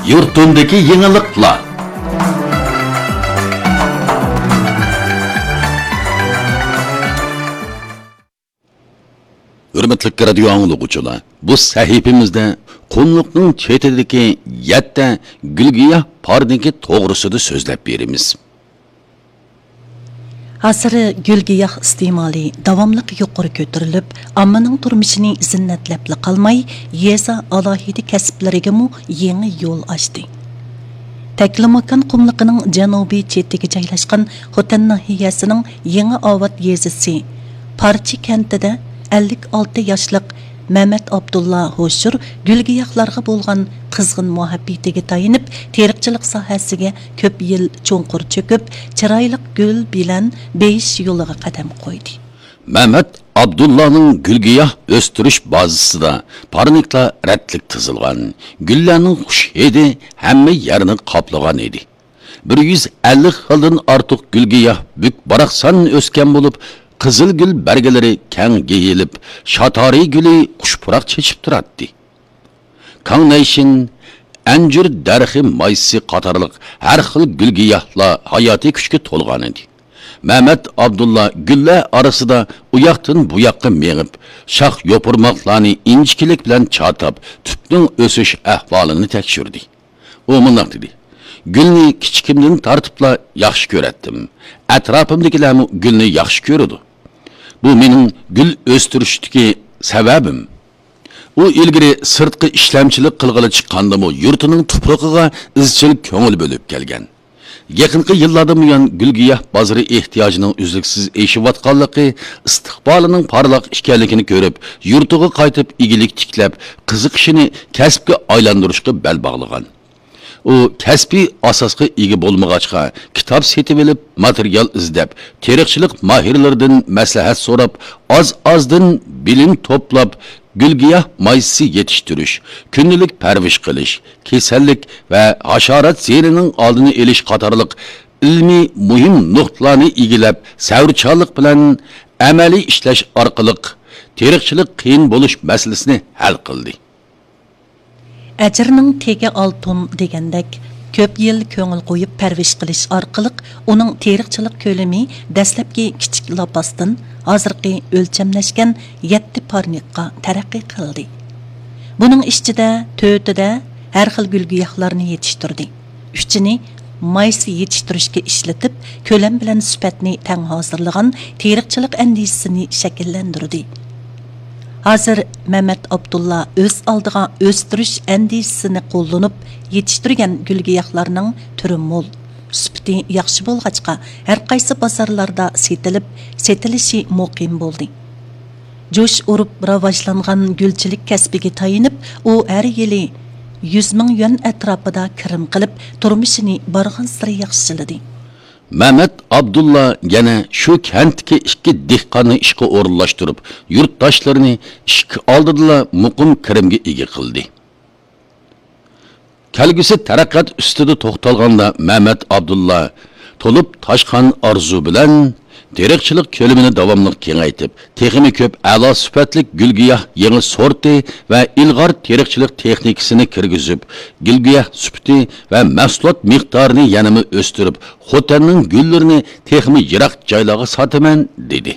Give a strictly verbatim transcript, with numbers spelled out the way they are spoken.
يۇرتۇمدىكى يېڭىلىقلار. ھۆرمەتلىك رادىيو ئاڭلىغۇچىلار، بۇ سەھىپىمىزدە قۇملۇقنىڭ چېتىدىكى يەتتە گۈلگىياھ پارنىكى توغرىسىدا سۆزلەپ بېرىمىز. ھازىر گۈلگىياھ ئىستېمالى داۋاملىق يۇقىرى كۆتۈرۈلۈپ، ئاممىنىڭ تۇرمۇشىنى زىننەتلەپلا قالماي، يېزا ئالاھىدە كەسىپلىرىگىمۇ يېڭى يول ئاچتى. تەكلىماكان قۇملۇقىنىڭ جەنۇبىي چېتىگە جايلاشقان خوتەن ناھىيەسىنىڭ يېڭى ئاۋات يېزىسى پارچە كەنتىدە ئەللىك ئالتە ياشلىق مەمەت ئابدۇللا ھوشۇر گۈلگىياھلارغا بولغان قىزغىن مۇھەببىتىگە تايىنىپ، تېرىقچىلىق ساھەسىگە كۆپ يىل چوڭقۇر چۆكۈپ، چىرايلىق گۈل بىلەن بېيىش يولىغا قەدەم قويدى. مەمەت ئابدۇللانىڭ گۈلگىياھ ئۆستۈرۈش بازىسىدا پارنىكلار رەتلىك تىزىلغان، گۈللەرنىڭ خۇش ھىدى ھەممە يەرنى قاپلىغان ئىدى. بىر يۈز ئەللىك خىلدىن ئارتۇق گۈلگىياھ بۈك-باراقسان ئۆسكەن بولۇپ، قىزىل گۈل بەرگىلىرى كەڭ يېيىلىپ، شاتارى گۈلى خۇش پۇراق چېچىپ تۇراتتى. كاڭنەيشىن، ئەنجۈر دەرىخى مايسىسى قاتارلىق ھەر خىل گۈلگىياھلار ھاياتىي كۈچكە تولغان ئىدى. مەمەت ئابدۇللا گۈللەر ئارىسىدا ئۇياقتىن بۇياققا مېڭىپ، شاخ يوپۇرماقلارنى ئىنچىكىلىك بىلەن چاتاپ، تۈپنىڭ ئۆسۈش ئەھۋالىنى تەكشۈردى. ئۇ مۇنداق دېدى: «گۈلنى كىچىكىمدىن تارتىپلا ياخشى كۆرەتتىم. ئەتراپىمدىكىلەرمۇ گۈلنى ياخشى كۆرىدۇ. بۇ مېنىڭ گۈل ئۆستۈرۈشتىكى سەۋەبىم.» ئۇ ئىلگىرى سىرتقا ئىشلەمچىلىك قىلغىلى چىققاندىمۇ يۇرتىنىڭ تۇپرىقىغا ئىزچىل كۆڭۈل بۆلۈپ كەلگەن. يېقىنقى يىللاردىن بۇيان گۈلگىياھ بازىرى ئېھتىياجىنىڭ ئۈزلۈكسىز ئېشىۋاتقانلىقى، ئىستىقبالىنىڭ پارلاق ئىكەنلىكىنى كۆرۈپ، يۇرتىغا قايتىپ ئىگىلىك تىكلەپ، قىزىقىشىنى كەسىپكە ئايلاندۇرۇشقا بەل باغلىغان. ئۇ كەسپىي ئاساسقا ئىگە بولمىغاچقا، كىتاب سېتىۋېلىپ، ماتېرىيال ئىزدەپ، تېرىقچىلىق ماھىرلىرىدىن مەسلىھەت سوراپ، ئاز-ئازدىن بىلىم توپلاپ، گۈلگىياھ مايسىسى يېتىشتۈرۈش، كۈندىلىك پەرۋىش قىلىش، كېسەللىك ۋە ھاشارات زىيىنىنىڭ ئالدىنى ئېلىش قاتارلىق ئىلمىي مۇھىم نۇقتىلارنى ئىگىلەپ، سەۋرچانلىق بىلەن ئەمەلىي ئىشلەش ئارقىلىق تېرىقچىلىق قىيىن بولۇش مەسىلىسىنى ھەل قىلدى. ئەجىرنىڭ تېگى ئالتۇن دېگەندەك، كۆپ يىل كۆڭۈل قويۇپ پەرۋىش قىلىش ئارقىلىق ئۇنىڭ تېرىقچىلىق كۆلىمى دەسلەپكى كىچىك لاپاستىن ھازىرقى ئۆلچەملەشكەن يەتتە پارنىكقا تەرەققىي قىلدى. بۇنىڭ ئىچىدە تۆتىدە ھەر خىل گۈل-گىياھلارنى يېتىشتۈردى. ئۈچىنى مايسا يېتىشتۈرۈشكە ئىشلىتىپ، كۆلەم بىلەن سۈپەتنى تەڭ ھازىرلىغان تېرىقچىلىق ئەندىزىسىنى شەكىللەندۈردى. ھازىر مەمەت ئابدۇللا ئۆز ئالدىغا ئۆستۈرۈش ئەندىزىسىنى قوللىنىپ يېتىشتۈرگەن گۈل-گىياھلارنىڭ تۈرى مول، سۈپىتى ياخشى بولغاچقا، ھەرقايسى بازارلاردا سېتىلىپ، سېتىلىشى مۇقىم بولدى. جۇش ئۇرۇپ راۋاجلانغان گۈلچىلىك كەسپىگە تايىنىپ، ئۇ ھەر يىلى يۈز مىڭ يۈەن ئەتراپىدا كىرىم قىلىپ، تۇرمۇشىنى بارغانسېرى ياخشىلىدى. مەمەت ئابدۇللا يەنە شۇ كەنتتىكى ئىككى دېھقاننى ئىشقا ئورۇنلاشتۇرۇپ، يۇرتداشلىرىنى ئىشىك ئالدىدىلا مۇقىم كىرىمگە ئىگە قىلدى. كەلگۈسى تەرەققىيات ئۈستىدە توختالغاندا، مەمەت ئابدۇللا تولۇپ تاشقان ئارزۇ بىلەن تېرىقچىلىق كۆلىمىنى داۋاملىق كېڭەيتىپ، تېخىمۇ كۆپ ئەلا سۈپەتلىك گۈل-گىياھ يېڭى سورتى ۋە ئىلغار تېرىقچىلىق تېخنىكىسىنى كىرگۈزۈپ، گۈل-گىياھ سۈپىتى ۋە مەھسۇلات مىقدارىنى يەنىمۇ ئۆستۈرۈپ، خوتەننىڭ گۈللىرىنى تېخىمۇ يىراق جايلارغا ساتىمەن، دېدى.